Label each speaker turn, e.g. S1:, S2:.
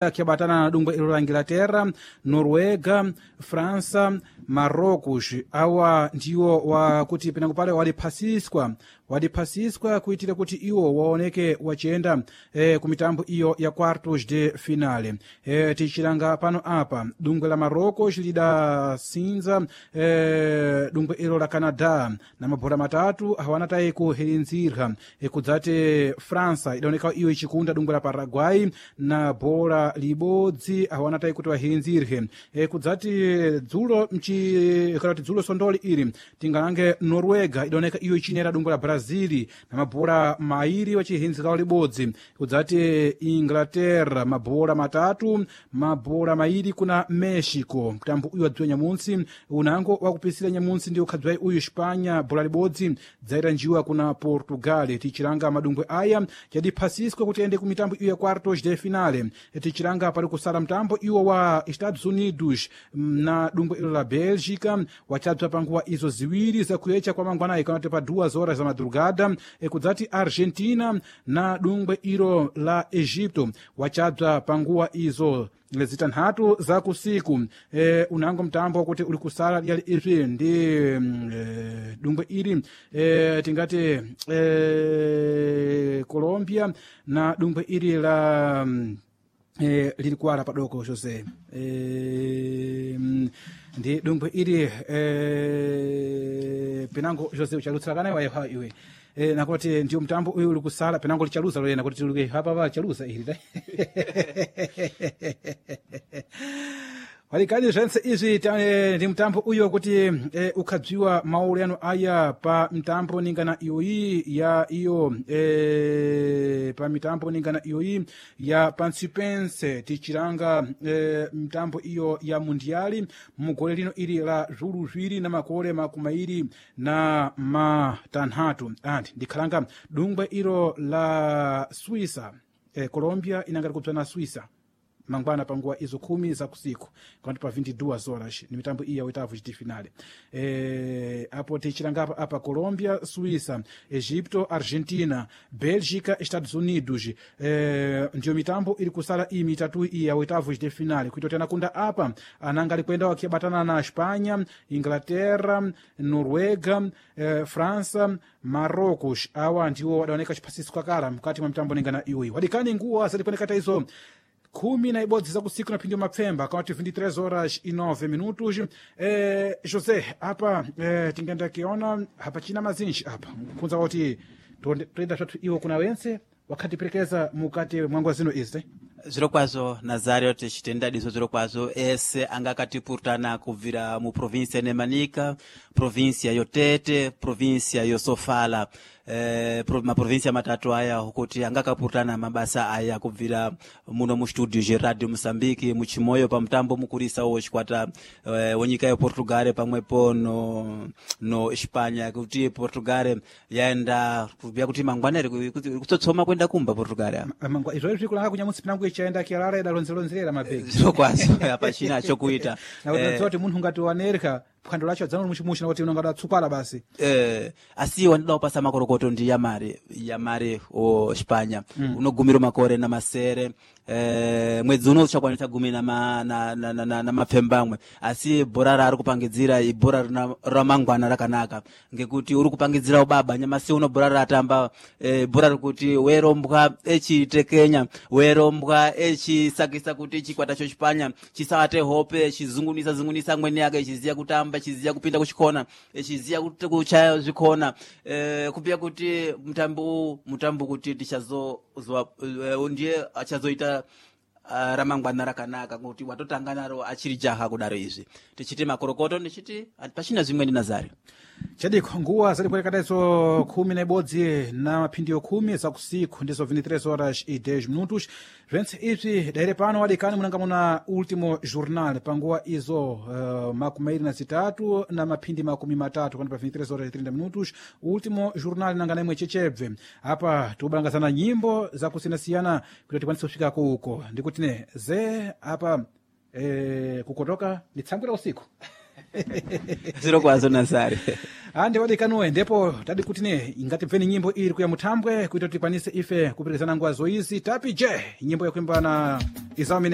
S1: Akiambatana na dungwe ilo la Inglaterra, Noruega, França, Marrocos. Awa ndiwo wakuti penango pale waliphasiswa kuitira kuti iwo waoneke wachiyenda ku mitambo iyo ya quartos de finale. Tichilanga pano apa dungwe la Marrocos lidasinza dungwe ilo la Canadá na mabhora matatu hawana tayi kuhirinzirwa. Kudzati França idaoneka iyo ichikunda dungwe la Paraguay na bhora libodzi hawana tayi kuti wahirinzirwe. Kudzati dzulo mchi kana kuti dzulo sondoli ili tingalange Noruega idaoneka iyo ichinera dungwe la Brazil na mabhora mairi wachihinzikawo libodzi. Kudzati Inglaterra mabhora matatu mabhora mairi kuna Mexico. Mtambo uyu wadziwa nyamuntsi unango wakupisira nyamuntsi ndi ukhadzwayi uyu Espanha bhora libodzi dzaita njiwa kuna Portugal. Tichilanga madungwe aya yadiphasiswa kuti ayende ku mitambo iyo ya quartos de finale. Tichilanga pali kusala mtambo iwo wa Estados Unidos na dungwe ilo la Bélgica wachadzwa panguwa izo ziwiri zakuyecha kwa mangwanayi kana kuti pa 2 horas za madrugada. Kudzati Argentina na dungwe ilo la Egipto wachadzwa panguwa izo zitanthatu za kusiku. Unango mtambo kuti uli kusala yali izvi ndi dungwe ili tingati Colombia na dungwe ili la lili kuwala padoko José ndi dungwe ili penango José uchalutsira wayeha iwe nakuti ndiyo mtambo uyu uli kusala penango lichaluza loyena kuti tuluke hapa chaluza ili ta walikani zvense izvi ndi mtambo uyo kuti ukhadziwa mauleno aya pa mtambo ningana iyoyi ya iyo pa mitambo ningana iyoyi ya pansipense tichilanga mtambo iyo ya mundiali mugole lino ili la zulu ziwiri na makole makumairi na matanthatu anti ndikhalanga dungwe ilo la Suíça Colombia inangati kupsa na Suíça mangwana panguwa izo khumi za kusiku kanti pa 22 horas ni mitambo iyi ya oitavo de finale. Apo tichilanga apa Colombia, Suíça, Egipto, Argentina, Bélgica, Estados Unidos. Ndiyo mitambo ili kusala iyi mitatu iyi ya oitavo de finale kuitoti anakunda apa ananga alikwenda wakiabatana na Espanha, Inglaterra, Noruega, França, Marrocos. Awa ndiwo wadaoneka chiphasiso kakala mkati mwa mitambo ningana iyoyi wadikani nguwa zadikuonekata izo 11 za kusiku na phindi mapfemba kawati 23 horas e 9 minutos. José apa tingenda kiona hapachina mazinji apa kunza kuti toenda twathu iwo kuna wense wakhatiperekeza mukati mwanguwa zino izi.
S2: Zvirokwazvo Nazario, tichitenda diso zvirokwazvo ese anga akatipurutana kubvira muprovinsia neManica, provinsia yoTete, provinsia yoSofala, maprovinsia matatu aya kuti anga akapurutana mabasa aya kubvira muno mustudio zveRadio Mozambique muchimoyo pamutambo mukurisa wo chikwata wenyika yePortugal pamwepo no Espanha kuti Portugal yaenda kubvira kuti mangwana iri kutsotsoma kuenda kumba Portugal.
S1: Mangwa izvo izvi kulanga kunyamutsi pinango ichaenda kialala idalonzelonzerera mabhegi
S2: zvirokwazvo hapachina chokuita
S1: nakuti kuti munthu ngati wanereka phwando lacho adzano muchimuchi nakuti unongada tsukwala basi.
S2: Asi wandida kupasa makorokoto ndi yamari yamari o Espanha unogumira makore na masere mwedzi uno uchakwanisa gumi na, na, na, na, na, na mapfembamwe asi bhora raari kupangidzira ibhora ramangwana rakanaka ngekuti uri kupangidzira ubaba nyamasi uno bhora ratamba bhora rikuti werombwa echitekenya werombwa echisakisa kuti chikwata chochipanya chisawate hope chizungunisa zungunisa amweni ake chiziya kutamba chiziya kupinda kuchikona chiziya kuchaya zvikona kupia kuti mutambo mutambo kuti tichazo ndiye achazoita ramangwana rakanaka kuti watotanga naro achiri jaha kudaro izvi tichiti makorokoto ndichiti pachina zvimweni Nazari
S1: chadiko nguwa zadikuelekataizo 11 na maphindiyo 10 za kusiku ndizo 23 horas e 10 minutos zventse izvi daire pano wadikani munanga muna ultimo jornal panguwa izo makumairi na zitatu na maphindi makumi matatu kana pa 23 horas e 30 minutos ultimo jornal nanga naimwe chechebve apa tikubalangazana nyimbo zakusiyanasiyana kuti tikwanise kufika kuko ndikuti ne ze apa kukotoka ni tsangwira usiku.
S2: Zviro kwazo Nasari.
S1: Ande wadikanuwe ndipo tadi kutine ingatibveni nyimbo iri kuya muthambwe kuita kuti tikwanise ife kuperekezana nguwa zoizi. Tapi je nyimbo yakuimbana Izamine.